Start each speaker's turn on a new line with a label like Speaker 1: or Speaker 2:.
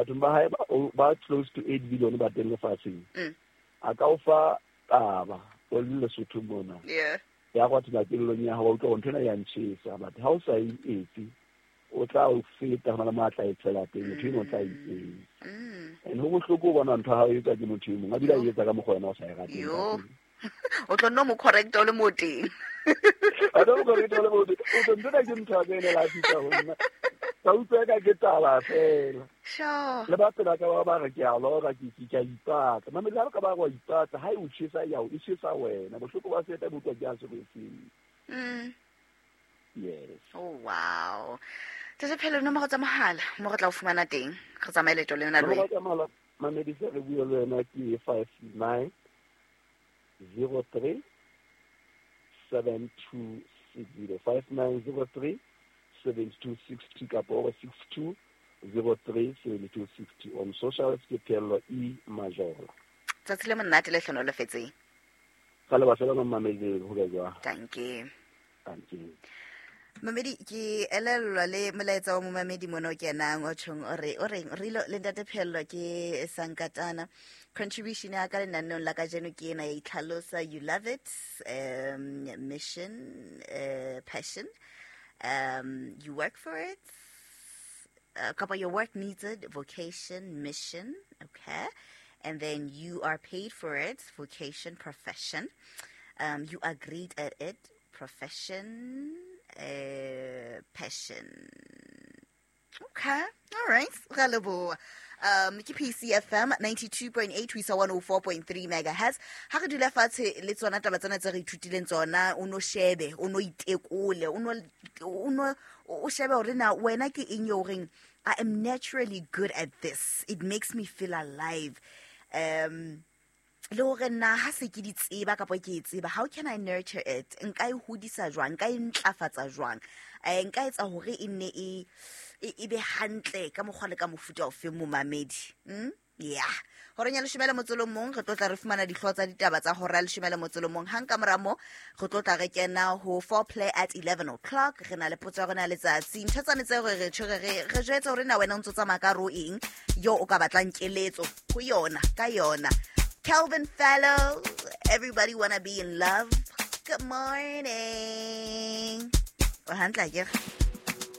Speaker 1: Bathong ba hae ba close to 8 billion ba teng lefatsheng. A ka o fa taba o le Lesotho mona. Ya go athela kelellong ya hao, wa utlwa hore ntho ena ya ntjhesa, but ha o sa e etse, o tla o feta, hona le mo a tla e tshela teng, motho eno o tla e etsa. And ho bohloko ho bona ntho ya hao e etswa ke motho e mong, a bile a e etsa ka mokgwa wena o sa e rateng ka teng.
Speaker 2: O tlo nno mo correcta o le mo teng.
Speaker 1: A tlo mo correcta o le mo teng. O tlo ntho ena ke ntho ya ka ene la fihla ho nna. Ka utlwa eka ke taba fela. Le ba pela ka ba ba re ke a lora, ke a ipatla. Mamedi, ha ka ba wa ipatla, ha e o tjhesa ya o, e tjhesa wena. Bohloko ba seta bo utlwa ke a serwetseng. Yes.
Speaker 2: Oh wow. Tse phelo nomoro tsa mohala mo re tla o fumana teng. Re tsamaye leeto lena le
Speaker 1: wena. Nomoro tsa mohala Mamedi se re bue le wena ke 59 03 7260, 5903 7260 kapa o 62 03 7260. On socials ke Pheello E Majola.
Speaker 2: Tsatsi le monate le hlonolofetseng.
Speaker 1: Ka le batla ba mamedi ho be jwang?
Speaker 2: Dankie.
Speaker 1: Dankie.
Speaker 2: Mamedi ke elellwa le molaetsa wa momamedi mona o kenang o tjhong o re o reng re le ntate Pheello ke sankatana contribution ya ka lenaneong la kajeno ke ena ya itlhalosa you love it, mission, passion, you work for it, kapa your work needs it, vocation, mission, okay, and then you are paid for it, vocation, profession, you are great at it, profession, passion. Okay, all right. Ra leboha. Ke PCFM 92.8 ho isa 104.3 megahertz. Ha re dula fatshe le tsona taba tsena tse re ithutileng tsona, o no shebe, o no itekole, o no o shebe hore na wena ke eng eo reng I am naturally good at this. It makes me feel alive. Le hore na ha se ke di tseba kapa ke e tseba, how can I nurture it? Nka e hodisa jwang? Nka e ntlafatsa jwang? Nka etsa hore e nne e be hantle ka mokgwa le ka mofuta ofe momamedi? Yeah. Horeng ya leshome le motso le mong, re tlo tla re fumana dihlooho tsa ditaba tsa hora ya leshome le motso le mong. Hang ka mora moo, re tlo tla re kena ho foreplay at 11 o'clock. Re na le potso ya rona ya letsatsi. Ntho tsane tseo re tjho re jwetse hore na wena o ntso tsamaya ka ro eng, yo o ka batlang keletso ho yona, ka yona. Calvin Fallow, everybody wanna be in love. Good morning. O hantle akere?